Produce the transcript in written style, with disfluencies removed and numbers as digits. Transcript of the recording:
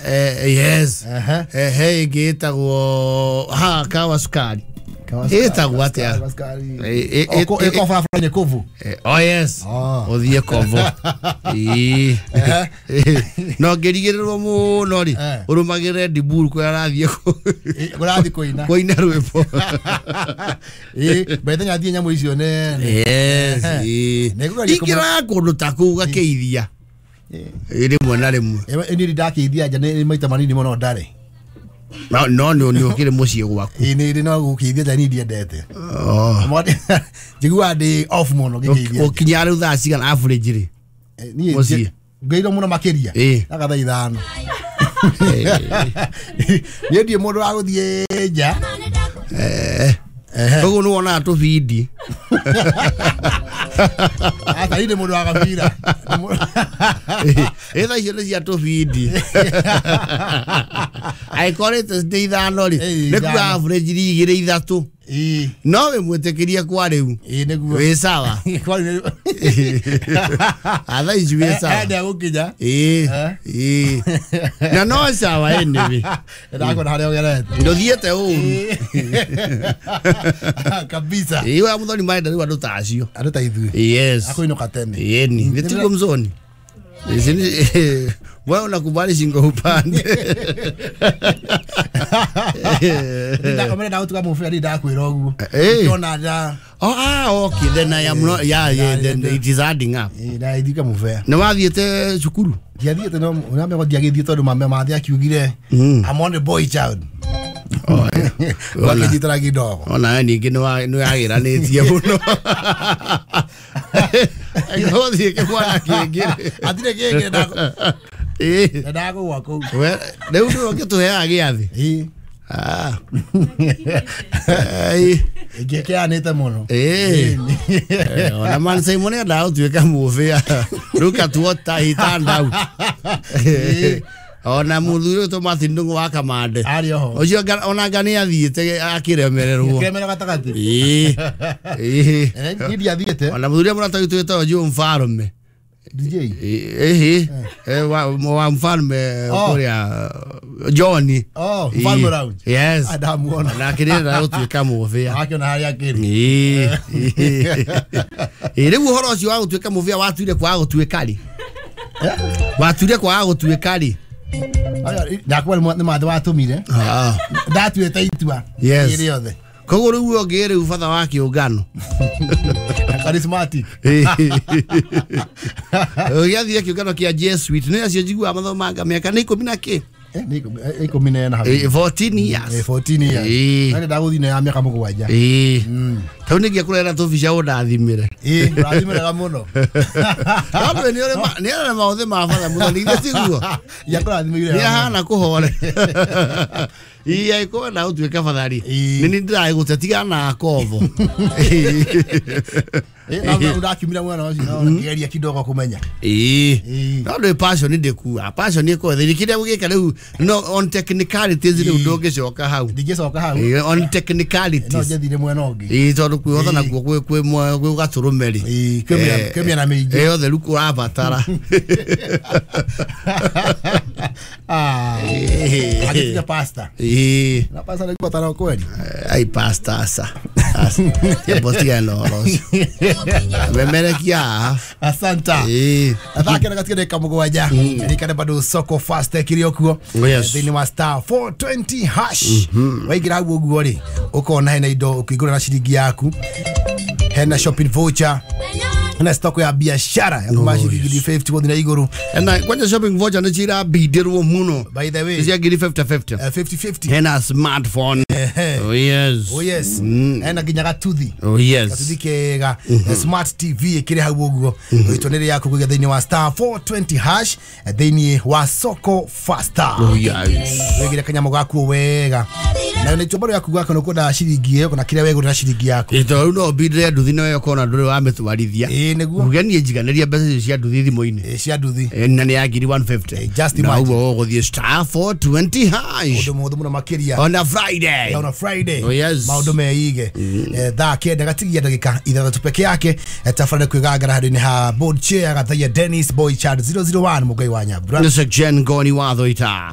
Yes. He ĩngĩ ĩtagwo ha kawa sukari. Ĩtagwo atĩa? Ĩko barabara-inĩ Kovu. Oh yes. Ũthiĩ Kovu. Ĩĩ. No ngĩrigĩrĩrwo mũno rĩ, ũrũmagĩrĩre Ndiburu kũrĩa arathiĩ kũrathiĩ kũina. Kũina rwĩmbo. Ĩĩ, mbere athiĩ nyamũ icio nene. Yes. Ĩĩ. Ingĩraga kũndũ ta kũu gakĩithia. Rĩmwe na rĩmwe. Niĩ ndakĩithia nja nĩ maita manini mũno ndarĩ. No nĩ ũkĩrĩ mũciĩ gwaku. Ĩĩ nĩ no gũkĩithia nja niĩ ndiendete. Njiguaga ndĩ off mũno ngĩkĩithia. Ũkinya rĩu thaa cigana average rĩ? Niĩ mũciĩ. Ngĩirwo mũno makĩria. Aka thaa 5. Niĩ ndiĩ mũndũ wa gũthiĩ nja. Koguo nĩ wonaga tũbindi. Ata niĩ ndĩ mũndũ wa gabira. Ĩ thaa icio nĩ cia tũbindi. Angĩkorwo rĩte nĩ 5 rĩ, nĩ kuga average 2 3. No wĩ mwĩtĩkĩrie kwa rĩu. Ĩĩ nĩguo. Wĩ sawa. Thaa ici wĩ sawa. Enda gũkinya. Ĩĩ. Ĩĩ. Na no sawa anyway. Ndakuona harĩa ũgerete. Ndũthiĩte ũru. Kabisa. Ĩĩ wa Muthoni marenda rĩu andũ ta acio. Andũ ta ithuĩ. Yes. Akũinũka tene. Ĩni. Nĩtiguo Mzoni. Wewe unakubali shingo upande. Ndakomera ndagutuka mũbira niĩ ndakwĩra ũguo. Ndona nda. Oh, okay. Then I am not. Yeah, yeah. Then it is adding up. Na ithika mũbira. Nĩ wathiĩte cukuru? Ndiathiĩte no ũramenya ndiagĩthiĩ tondũ mama mathi akiugire I'm on the boy child. Wakĩnyitana kidogo. Ona ningĩ nĩ wagĩranĩtie mũno. Gũthiĩ kĩmwana kĩngĩ. Hatirĩ kĩngĩ ndagũgwa kũu. Rĩu nĩwe ũngĩtũheaga gĩathĩ. Ingĩkĩanĩte mũno. Ona man Simon endaga gũtuĩka mũbĩa. Look at what he turned out. Ona mũthuri ũyũ Martin Ndung'u wa Kamande. Arĩ oho. Ũcio ona anga nĩ athiĩte akĩremererwo. Akĩremererwo gatagatĩ. Ĩĩ. Niĩ ndiathiĩte. Ona mũthuri ũrĩa mũrata witũ wĩtagwo Joe Mfalme. DJ. Ĩhĩ. Wa Mfalme kũrĩa Johnny. Oh, Mfalme Lounge. Yes. Ndamuona. Nake nĩ gũtuĩka mũbĩa. Akĩona harĩa akĩrĩ. Ĩĩ. Rĩu ũhoro ũcio wa gũtuĩka mũbĩa watuire kwaga gũtuĩka rĩ? Watuire kwaga gũtuĩka rĩ? Ndakuwa nĩ mathĩ watũmire. Ndatuĩte itua. Yes. Rĩothe. Koguo rĩu ũngĩ rĩu batha wa kĩũngano. Charismatic. Ũgĩathiĩ kĩũngano kĩa Jesuit nĩ acio njiguaga mathomanga mĩaka nĩ 10 na kĩ? Nĩ 14 hau. 14 years. 14 years. Na ndagũthiĩ na ya mĩaka 7. Ĩĩ. Tau nĩngĩa kũrera tũbica ũndathimĩre. Ĩĩ, ũrathimĩrega mũno. Tondũ nĩ ũrĩ maũthĩ ma batha Muthoni githĩ tiguo? Ya kũrathimĩire. Nĩ ahana kũhore. Ĩĩ angĩkorwo wenda gũtuĩka batha rĩ, nĩ niĩ ndĩragĩgũte tigana na kobo. Ndakiumira mwena ũcio no ngĩgeria kidogo kũmenya. Ĩĩ. No ndĩ passion ndĩkuaga. Passion ĩkorwo thĩinĩ kĩrĩa ũgĩka rĩu no on technicalities rĩu ndũngĩcoka hau. Ndingĩcoka hau. On technicalities. No njathire mwena ũngĩ. Ĩĩ tondũ kwĩhotha nakuo kwĩ gatũrũme rĩ. Ĩĩ kwĩ mĩena mĩingĩ. Yothe rĩu kũrabatara. Agĩtiga pastor. Ĩĩ. Na pastor nĩ kubatara kweli. Ai pastor aca. Mbotiga na ũhoro ũcio. Memerekia. Asanta. Athake na gatige dakika 7. Ririkane bado soko fast kiri okuo. Thĩinĩ wa star 420 hash. Waingĩra hau ũguo rĩ, ũkona hena indo ũkĩgũra na ciringi yaku. Hena shopping voucher. Hena stock ya biashara ya kuma ciringi 50 gũthiĩ na igũrũ. Na kwanja shopping voucher nĩ cirabindĩrwo mũno. By the way, cia ngiri 50-50. 50-50. Hena smartphone. Oh yes. Oh yes. Hena nginya gatuthi. Oh yes. Gatuthi kega. Smart TV ĩkĩrĩ hau ũguo. Ĩtwa nĩ rĩaku kũgĩa thĩinĩ wa star 420 hash thĩinĩ wa soko faster. Oh yes. Wĩgĩre kanyamũ gaku wega. Na nĩ chombo yaku gwaka no kwenda ciringi ĩyo kana kĩrĩa wegũrĩra ciringi yaku. Ĩto rĩu no ũbindĩre nduthi nayo ũkona ndũrĩ wamĩtwarithia. Ĩĩ nĩguo. Uge niĩ njiganĩria mbeca icio cia nduthi thimũ-inĩ. Cia nduthi. Na nĩ ya ngiri 150. Just Na imagine. ũguo ũgũthiĩ star 420 hash. Ũndũ mũhũthũ mũno makĩria. On a Friday. On a Friday. Oh yes. Maũndũ meige. Thaa 9 gatigia ndagĩka 6 peke yake. Tabarĩra kwĩgangara handũ-inĩ ha board chair Gathaia Dennis Boy Chad 001 Mũngai wa Nyambura. Nĩ Jen Goni wa Thoita.